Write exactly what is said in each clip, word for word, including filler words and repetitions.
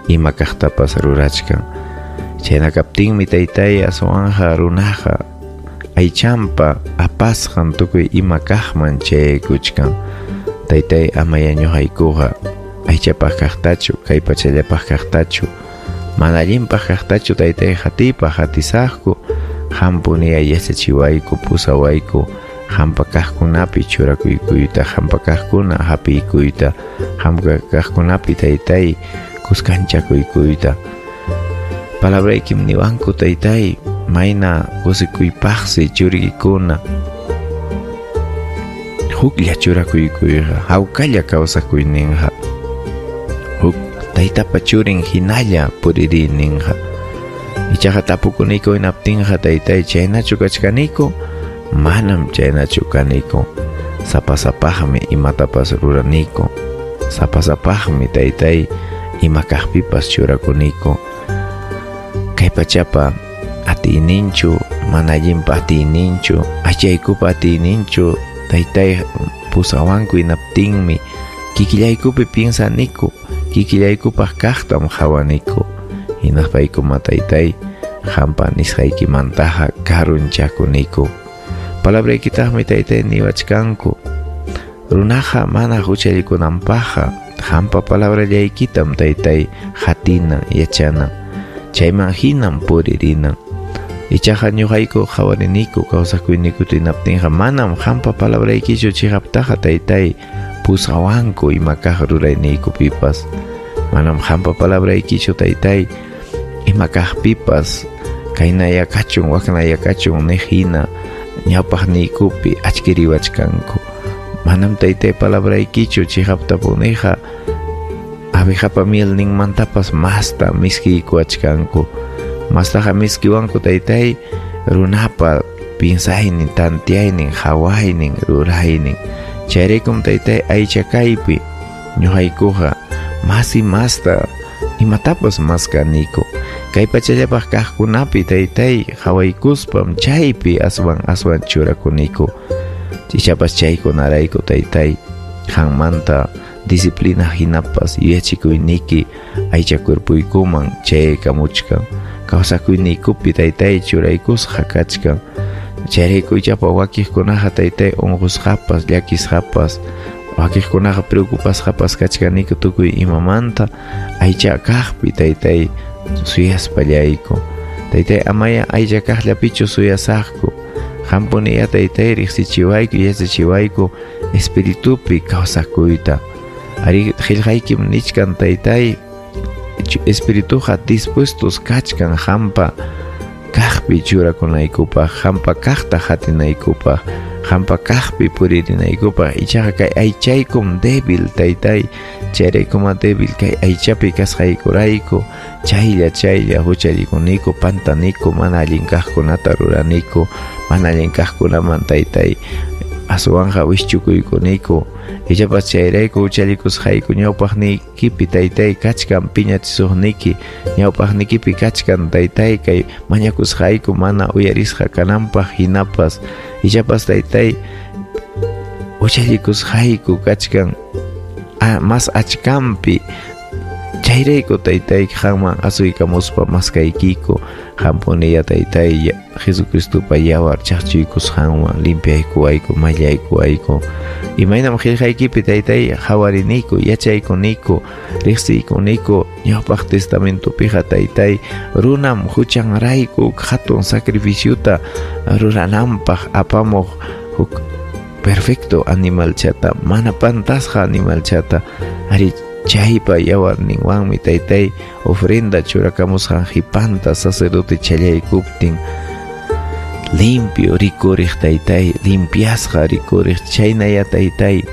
Ima kaqtapas rurachkan. Chayna kaptinmi taytay aswanja runaqa aychampa apasqan tukuy ima kaqman chayaykuchkan. Taytay amaya ñuqaykuqa aychapaq kaqtachu, kay pachallapaq kaqtachu, mana allinpaq kaqtachu taytay hatipaq hatisaqku, hampuniya yachachiwayku, pusawayku, hampa kaqkunapi churakuykuyta, hampa kaqkuna hapiykuyta, hampa kaqkunapi taytay kuskanchakuykuyta. Palabraykim niwanku taytay, mayna kusikuypaqsi churikikuna, huklla churakuykuyqa, hawkalla kawsakuyninqa, huk taytapa churin hinalla puririyninqa. Ichaqa tapukuniko hinaptinqa taytay chaynachu kachkaniku, manam chaynachu kaniku. Sapasapaqmi imatapas ruraniku, sapasapaqmi taytay ima kaqpipas churakuniku. Kay pachapa atiyninchu, mana allinpa atiyninchu, aychaykupa atiyninchu taytay pusawanku hinaptinmi kikillaykupi piensaniku, kikillaykupaq kaqtam qhawaniku. Hinaspaykuma taytay hampa nisqaykimantaqa karunchakuniku. Palabraykitaqmi taytay niwachkanku, runaqa mana huchallikunanpaqqa hampa palabrallaykitam taytay hatinan, yachanan, chayman hinam puririnan. Ichaqa ñuqayku qhawariniku kawsakuyniku hinaptinqa manam hampa palabraykichu chiqaptaqa taytay pusawanku ima kaq rurayniykupipas. Manam hampa palabraykichu taytay ima kaqpipas kaynaya kachun waknaya kachun niq hina ñawpaqniykupi achkiriwachkanku. Manam taytay palabraykichu chiqaptapuniqa abejapa mielninmantapas masta miskiykuwachkanku. Mastaqa miskiwanku taytay runapa piensaynin, tantiaynin, hawaynin, ruraynin. Chayraykum taytay aycha kaypi ñuqaykuqa masi masta imatapas maskaniku. Kay pachallapaq kaqkunapi taytay hawaykuspam chaypi aswan aswan churakuniku. Ichapas chaykunarayku taytay qanmanta disciplina hinapas yuyachikuyniki aycha cuerpuykuman chayaykamuchkan. Kawsakuyniykupi taytay churaykusqa kachkan. Chayrayku ichapa wakiqkunaqa taytay unqusqapas, llakisqapas, wakiqkunaqa preocupasqapas kachkaniku tukuy imamanta aycha kaqpi taytay suyaspallayku. Taytay amaya aycha kaqllapichu suyasaqku. Hampuniya taytay riqsichiwayku, yachachiwayku espiritupi kawsakuyta. Ari qillqaykim nichkan taytay espirituqa dispuestos kachkan hampa kaqpi churakunaykupaq, hampa kaqta hatinaykupaq, hampa kaqpi puririnaykupaq. Ichaqa kay aychaykum débil taytay, chayraykuma débil kay aychapi kasqaykurayku chaylla chaylla huchallikuniku, pantaniku, mana allin kaqkunata ruraniku, mana allin kaqkunaman taytay aswanja wischukuykuniko. Ichapas chayrayku huchallikusqayku ñawpaqniykipi taytay kachkan piñachisuqniki, ñawpaqnikipi kachkan taytay kay mañakusqayku mana uyarisqa kananpaq hinapas. Ichapas taytay huchallikusqayku kachkan mas achkampi. Chayrayku taytay qanman asuykamuspa maskaykiku, hampuniya taytay Jesucristopa yawar chaqchuykusqanwan limpiaykuwayku, mallaykuwayku. Imaynam qillqaykipi taytay qhawariniku, yachaykuniku, riqsiykuniku ñawpaq testamentopiqa taytay runam huchanrayku hatun sacrificiota rurananpaq apamuq huk perfecto animalchata, mana pantasqa animalchata. Ari chaypa yawarninwanmi taytay ofrenda churakamusqan qhipanta sacerdote challaykuptin limpio rikuriq taytay, limpiasqa rikuriq. Chaynaya taytay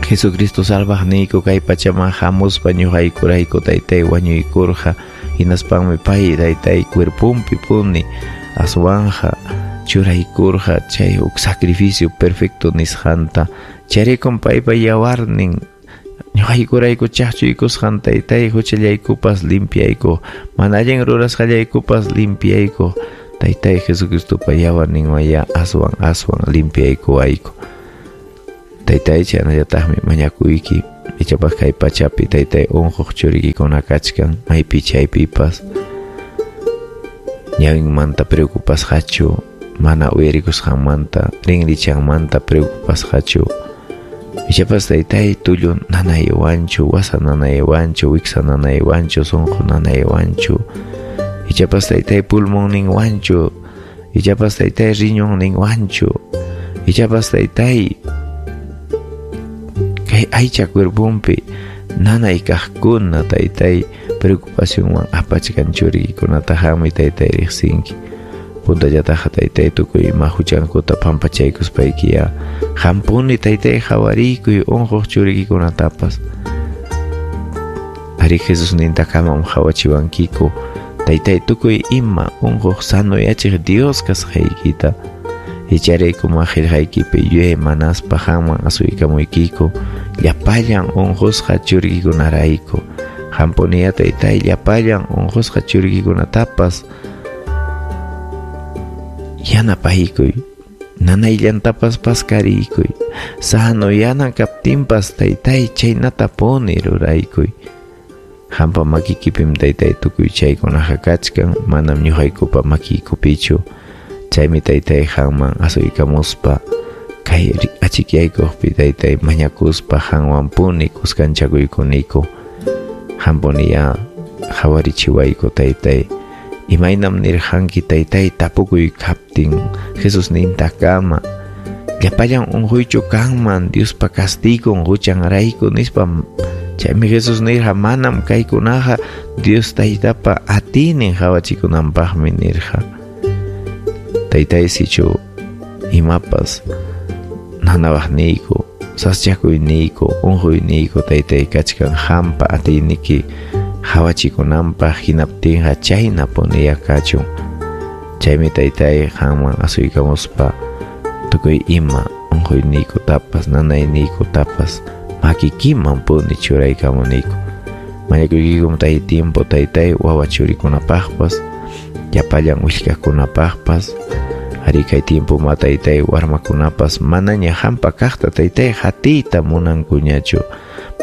Jesucristo salvaqniyku kay pachaman hamuspa ñuqaykurayku taytay wañuykurqa. Hinaspanmi pay taytay cuerpunpi puni aswanja churaykurqa chay huk sacrificio perfecto nisqanta. Chayraykum paypa yawarnin ñuqaykurayku chaqchuykusqan taytay huchallaykupas limpiayku, mana allin rurasqallaykupas limpiayku. Taytay Jesucristopa yawarninwanya aswan aswan limpiaykuwayku. Taytay chaynallataqmi mañakuyki Ichapas kay pachapi taytay unquq churikikuna kachkan maypi chaypipas ñawinmanta preocupasqachu, mana uyarikusqanmanta, rinrichanmanta preocupasqachu. Ichapas taytay tullu nanaywanchu, wasa nanaywanchu, wiksa nanaywanchu, sunqu nanaywanchu. Ichapas taytay pulmonninwanchu, ichapas taytay riñonninwanchu, ichapas taytay kay aycha cuerpompi nanay kaqkuna taytay preocupacionwan apachkan churikikunata qammi taytay riqsinki. Puntallataqa taytay tukuy ima huchankuta pampachaykuspaykiya qampuni taytay qawariykuy unquq churikikunatapas. Ari Jesusnintakamam qawachiwankiku taytay tukuy ima unquq sanoyachiq Dios kasqaykita. Icharaykum qillqaykipi yuyay manaspa qamman asuykamuykiku llapallan unqusqa churikikunarayku. Qampuniya taytay llapallan unqusqa churikikunatapas yanapaykuy, nanayllantapas paskariykuy, sano yanan kaptinpas taytay chaynatapuni ruraykuy. Qampa makikipim taytay tukuy chaykunaqa kachkan, manam ñuqaykupa makiykupichu. Chaymi taytay qamman asuykamuspa kay achikyaykuqpi taytay mañakuspa qanwanpuni kuskanchakuykuniku. Qampuniya qhawarichiwayku taytay. Imaynam nirqanki taytay tapukuy kaptin Jesusnintakama llapallan unquychu kanman Diospa castigon huchanrayku nispa. Chaymi Jesus nirqa manam kaykunaqa Dios taytapa atiynin qawachikunanpaqmi nirqa. Taytay sichu imapas nanawaqniyku, saschakuyniyku, unquyniyku taytay kachkan qampa atiyniki qawachikunanpaq hinaptinqa chaynapuniya kachun. Chaymi taytay qamman asuykamuspa tukuy ima unquyniykutapas nanayniykutapas makikiman puni churaykamuniku. Mañakuykikum tay tiempo taytay wawa churikunapaqpas, llapallan willkakunapaqpas. Ari kay tiempo ma taytay warmakunapas manaña qampa kaqta taytay hatiyta munankuñachu.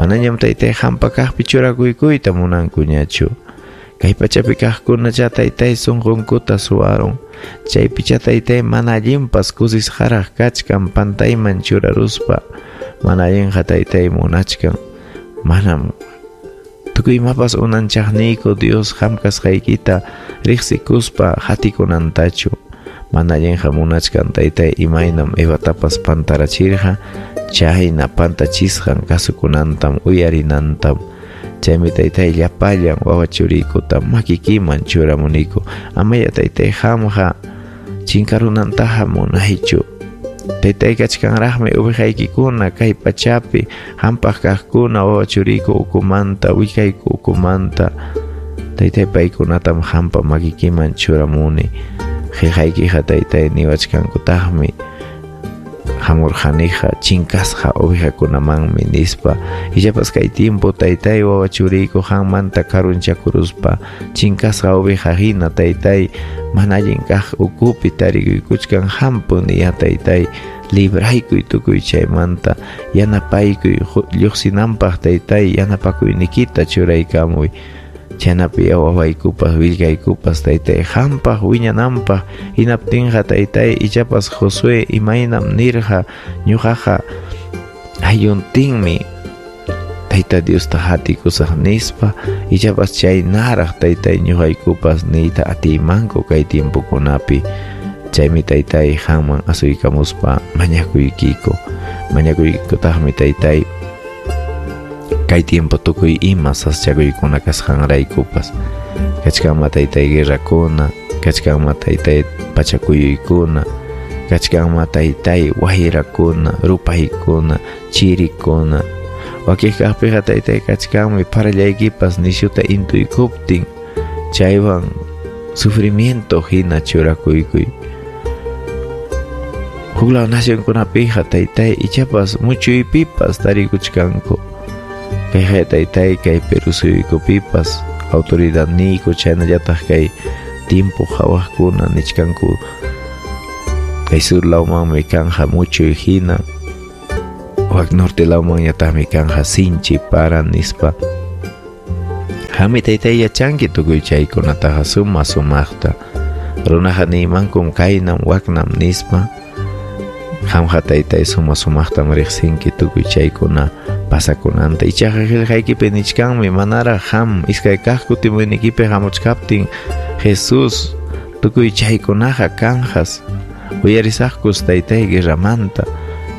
Manañam taytay qampa kaqpi churakuykuyta munankuñachu. Kay pachapi kaqkunacha taytay sunqunkuta suwarun. Chaypicha taytay mana allinpas kusisqaraq kachkan pantayman churaruspa. Mana allinqa taytay munachkan. Manam tukuy imapas unanchaqniyku Dios qam kasqaykita riqsikuspa hatikunantachu. Mana allinqa munachkan taytay imaynam Evatapas pantarachirqa chayna pantachisqan kasukunantam uyarinantam. Chaymi taytay llapallan wawa churiykuta makikiman churamuniku. Amaya taytay qamqa chinkarunantaqa munaychu. Taytay kachkanraqmi uwihaykikuna kay pachapi qampaq kaqkuna wawa churiyku ukumanta willkayku ukumanta. Taytay paykunatam qampa makikiman churamuni. Qillqaykiqa taytay niwachkankutaqmi hamurqaniqa chinkasqa ovejakunamanmi nispa. Ichapas kay tiempo taytay wawa churiyku qammanta karunchakuruspa chinkasqa oveja hina taytay mana allin kaq ukupi tarikuykuchkan qampuniya taytay libraykuy tukuy chaymanta yanapaykuy lluqsinanpaq taytay yanapakuynikita churaykamuy. Chaynapi wawaykupas willkaykupas taytay qampaq wiñananpaq hinaptinqa taytay ichapas Josué imaynam nirqa ñuqaqa aylluntinmi Tayta Diosta hatikusaq nispa. Ichapas chaynaraq taytay ñuqaykupas niyta atiymanku kay tiempokunapi. Chaymi taytay qamman asuykamuspa mañakuykiku. Mañakuykikutaqmi taytay kay tiempo tukuy ima saschakuykuna kasqanraykupas. Kachkanma taytay guerrakuna, kachkanma taytay pachakuyuykuna, kachkanma taytay wayrakuna, rupaykuna, chirikuna. Wakiq kaqpiqa taytay kachkanmi parallaykipas nishuta intuykuptin chaywan sufrimiento hina churakuykuy. Huklaw nacionkunapiqa taytay ichapas muchuypipas tarikuchkanku. Kayqa taytay kay Perú suyukupipas autoridadniyku chaynallataq kay tiempo qhawaqkuna nichkanku kay sur lawmanmi kanja muchuy hina. Wak norte lawmanñataqmi kanja sinchi para nispa. Qammi taytay yachanki tukuy chaykunataqa suma sumaqta. Runaqa niymankum kaynam waknam nispa. Qamqa taytay suma sumaqtam riqsinki tukuy chaykuna pasakunanta. Ichaqa qillqaykipi nichkanmi manaraq qam iskay kaq kutimuynikipi hamuchkaptin Jesus tukuy chaykunaqa kanjas. Uyarisaqkus taytay guerramanta,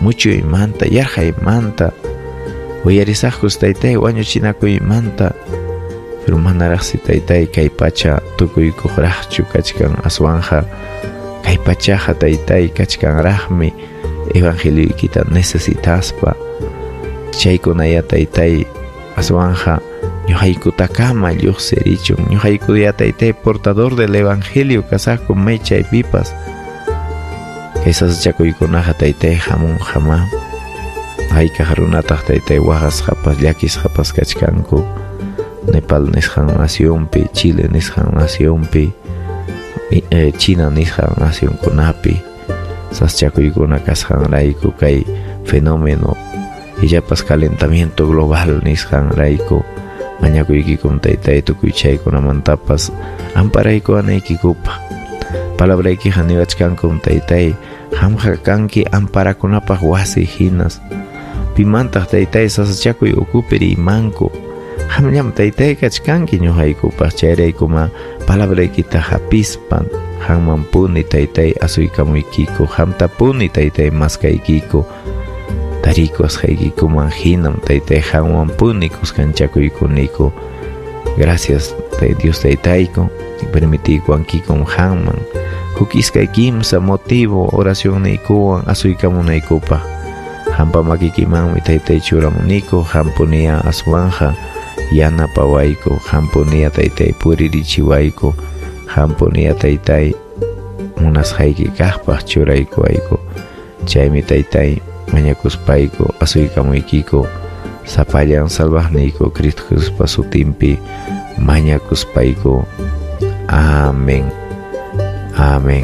muchuymanta, yarqaymanta. Uyarisaqkus taytay wañuchinakuymanta. Pero manaraqsi taytay kay pacha tukuykuqraqchu kachkan aswanja kay pachaqa taytay kachkanraqmi evangelioykita necesitaspa. Chaykunaya taytay aswanja ñuqaykutakama lluqsirichun. Ñuqaykuya taytay portador del evangelio kasaqku may chaypipas. Kay sasachakuykunaqa taytay hamunqama. Haykaq runataq taytay waqasqapas llakisqapas kachkanku. Nepal nisqan nacionpi, Chile nisqan nacionpi, eh, China nisqan nacionkunapi sasachakuykuna kasqanrayku kay fenómeno illapas calentamiento global nisqanrayku mañakuykikum taytay tukuy chaykunamantapas amparaykuwanaykikupaq. Palabraykiqa niwachkankum taytay qamqa kanki amparakunapaq wasi hinas. Pimantaq taytay sasachakuy ukupi rimanku. Qamllam taytay kachkanki ñuqaykupaq chayraykuma palabraykita hapispan qammanpuni taytay asuykamuykiku qamtapuni taytay maskaykiku. Tarikuasqaykikuman hinam taytay qamwanpuni kuskanchakuykuniku. Gracias Dios taytayku permitiykuwankikum qamman huk iskay kimsa motivo oracionniykuwan asuykamunaykupaq. Qampa makikimanmi taytay churamuniku qampuniya aswanja yanapawayku qampuniya taytay puririchiwayku qampuniya taytay munasqayki kaqpaq churaykuwayku. Chaymi taytay mañakuspayku asuykamuykiku sapallan salvaqniyku Cristo Jesuspa sutinpi mañakuspayku. Amén. Amén.